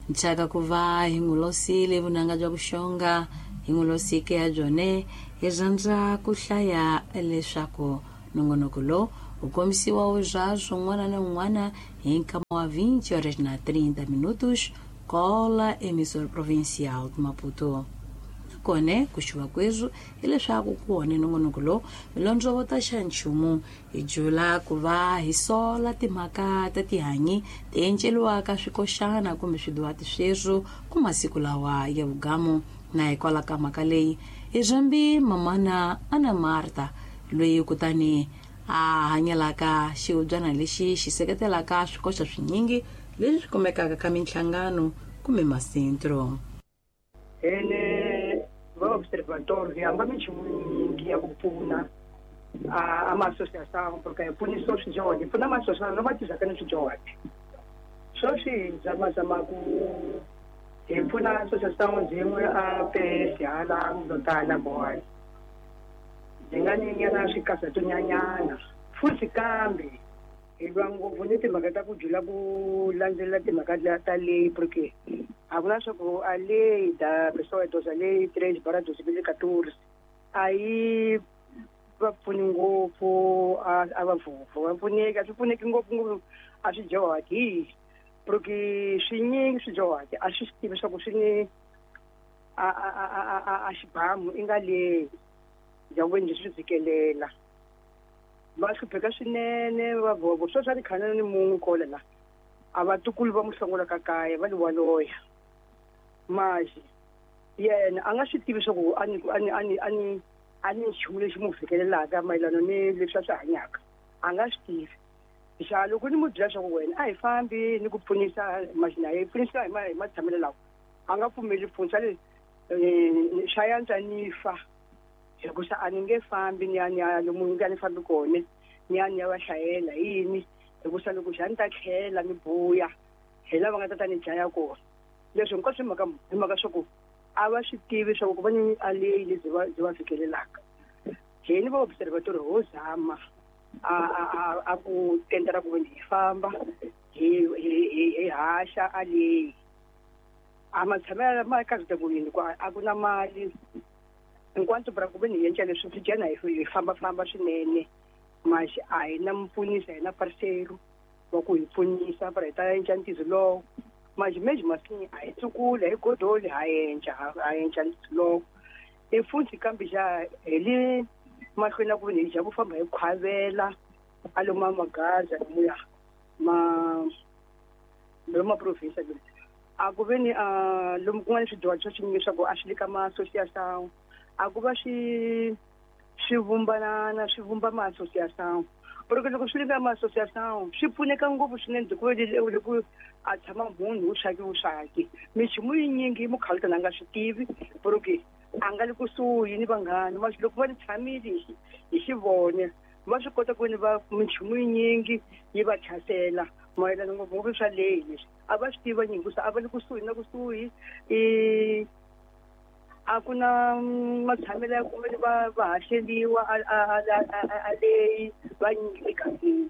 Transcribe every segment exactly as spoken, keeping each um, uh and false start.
Nchaka ku va hi n'wi losile vunanga bya vuxonga hi n'wi losike ya byone hi rhandza ku hlaya leswaku nongonoko lowu wu kombisiwa bya swin'wana na un'wana hi nkama wa vinte horas na trinta minutos kola emissora provincial de Maputo. Kone ku xuva kwezwo hileswaku ku wone nongonoko lowu milondzovota xa nchumu hi jula ku va hi sola timhaka ta tihanyi ti enceliwaka swikoxana kumbe swiduwati sweswo ku masiku lawa ya vugamu. Na hikwalaho ka mhaka leyi hi rhambi mamana Ana Marta loyi kutani a hanyelaka xihubyana lexi xi seketelaka swikoxa swinyingi leswi swi kumekaka ka minhlangano kumbe masentro. Ene va observatório hi hamba minchumu yinyingi ya ku pfuna a ma-associação porque hi pfunisa swidyuhari hi pfuna ma-associação lama tirhaka ni swidyuhari. Sweswi hi zamazama ku hi pfuna associação byin'we a P S hala Mlotana Boy byi nga ni nyana swikasatonyanyana futhi kambe hi lwa ngopfu ni timhaka ta ku jula ku landzelela timhaka ta leyi porque a ku na swa ku a lei da pessoa idosa lei três barra dois mil e quatorze a yi va pfuni ngopfu a a va vhovho va pfuneki a swi pfuneki ngopfu ngopfu a swi dyohaki porque swinyingi swi dyohaki a swi swi tivi swa ku swi ni a a a a a xibamu i nga leyi ya ku swi fikelela va hlupheka swinene va vhovho sweswi a ni khana ni munhu kola la a vatukulu va muhlongola ka kaya va li waloya maxi yena a nga swi tivi swa ku a ni a ni a ni a ni a ni nchumu lexi mu fikelelaka mayelana ni leswi a swi hanyaka a nga swi tivi. Xa loko ni mu byela swa ku wena a hi fambi ni ku pfunisa maxi na ye pfunisa hi ma hi matshamelo lawa a nga pfumeli pfunisa le swa yantswa ni fa hikusa a ni nge fambi ni ya ni ya lomu ni nga ni fambi kona ni ya ni ya va hlayela yini hikusa loko xa ni ta tlhela ni buya hi lava nga ta ta ni dlaya kona. Leswi hinkwaswo hi mhaka hi mhaka swa ku a va swi tivi swa ku ku va ni a leyi lebyi va byi va fikelelaka. Hini va observatory ho zama a a a a ku tendela ku hi famba hi hi hi haxa a leyi a matshamelo ma ka ku yini ku a ku na mali enquanto para ku ve ni endla leswi swi dyana hi fambafamba swinene maxi a hi na mpfunisa hi na parceiro wa ku hi pfunisa para hi ta endla ntirho lowo maxi mesmo assim a hi tsukula hi godoli ha endla ha endla ntirho lowo i futhi kambe xa hi le mahlweni ku ni hi dya ku famba hi khwavela a lomu a magaza lomuya ma lomu ma province a ku ve ni a lomu kun'wana swidyuhari swa swinyingi swa ku a swi le ka ma-associação a ku va swi swi vumbanana swi vumba ma-associação porque loko swi le ka ma-associação swi pfuneka ngopfu swinene hikuva loko a tshama munhu wu swaki wu swaki minchumu yinyingi mukhalutana a nga swi tivi porque a nga le kusuhi ni vanghana maxi loko va ni tshamile hi hi xivone va swi kota ku ni va minchumu yinyingi yi va tlhasela mayelana ngopfungopfu swa leyi leswi a va swi tiva nyingi a va le kusuhi na kusuhi i a ku na matshamelo ya kumbe va va haxeliwa a a a a leyi va nyingi emigangeni.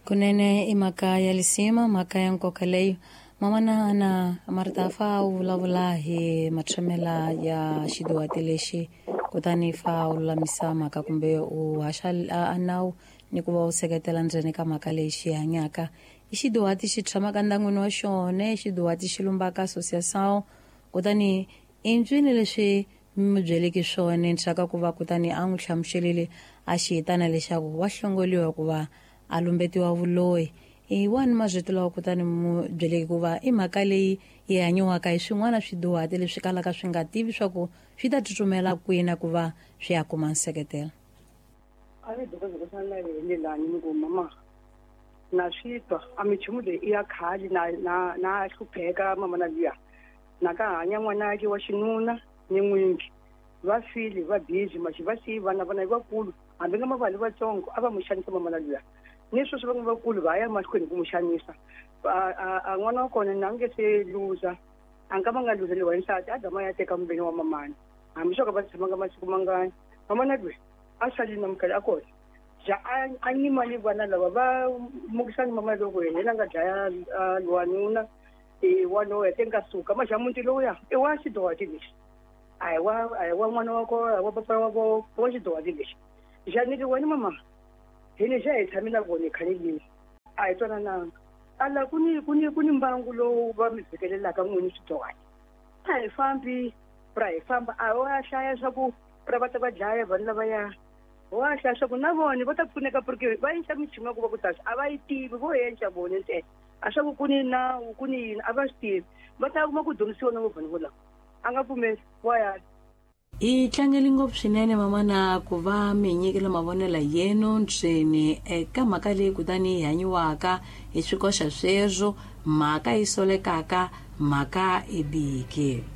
Kunene i mhaka ya lisima mhaka ya nkoka leyo mamana Ana Marta fa u vulavula hi matshamela ya xiduwati lexi kutani fa u lulamisa mhaka kumbe u haxa a nawu ni ku va u seketela ndzeni ka mhaka leyi xi hanyaka i xiduwati xi tshamaka ndyangwini wa xona xiduwati xi lumbaka associação kutani i ntswini leswi mi byeleke swona ndzhaka ku va kutani a n'wi hlamuselile a xi hitana leswaku wa hlongoliwa hikuva a lumbetiwa vuloyi i wani marito lawa kutani mu byeleke ku va i mhaka leyi yi hanyiwaka hi swin'wana swiduhati leswi kalaka swi nga tivi swa ku swi ta tsutsumela kwini ku va swi ya kuma nseketelo. A ni dokodela na yena lani ni ku mama na swi twa a minchumu leyi i ya khale na na na hlupheka mama na luya na ka hanya n'wanake wa xinuna ni n'wingi va file va busy maxi va siyi vana vana i vakulu hambi nga mavali vatsongo a va mu xanisa mama na luya ni sweswi van'we vakulu va ya mahlweni ku mu xanisa a n'wana wa kona na nge se luza a nga va nga luzeliwa hi nsati a gama ya teka muveni wa mamani hambi swo ka va tshamanga masiku mangani mamana lweyi a salile na mukhale a kona Ja a nyima ni vana lava va mukisani mama loko yena nga dlaya wanuna i wanoya te nga suka ma xa muti lowuya i wa xidowati lexi a hi wa a hi wa n'wana wa kona wa papa wa vo wa xidowati lexi xa ni ri wena mama hi ni xa hi tshame na vona khale lini a hi twanananga ala ku ni ku ni ku ni mbangu lowu va mi vhikelelaka n'wini swidowati a hi fambi ra hi famba a wa hlaya swa ku ra va ta va dlaya vanhu lavaya wa hlaya swa ku na vona va ta pfuneka porque va endla michumu ya ku va ku tasa a va yi tivi vo endla vona ntsena a swa ku ku ni nawu ku ni yini a va swi tivi va ta kuma ku dyondzisiwa na vanhu volava a nga pfumeli wa ya. Hi tlangeli ngopfu swinene mamana ku va mi nyikela mavonelo yenu ntseni eka mhaka leyi kutani yi hanyiwaka hi swikoxa sweswo mhaka yi solekaka mhaka i biki.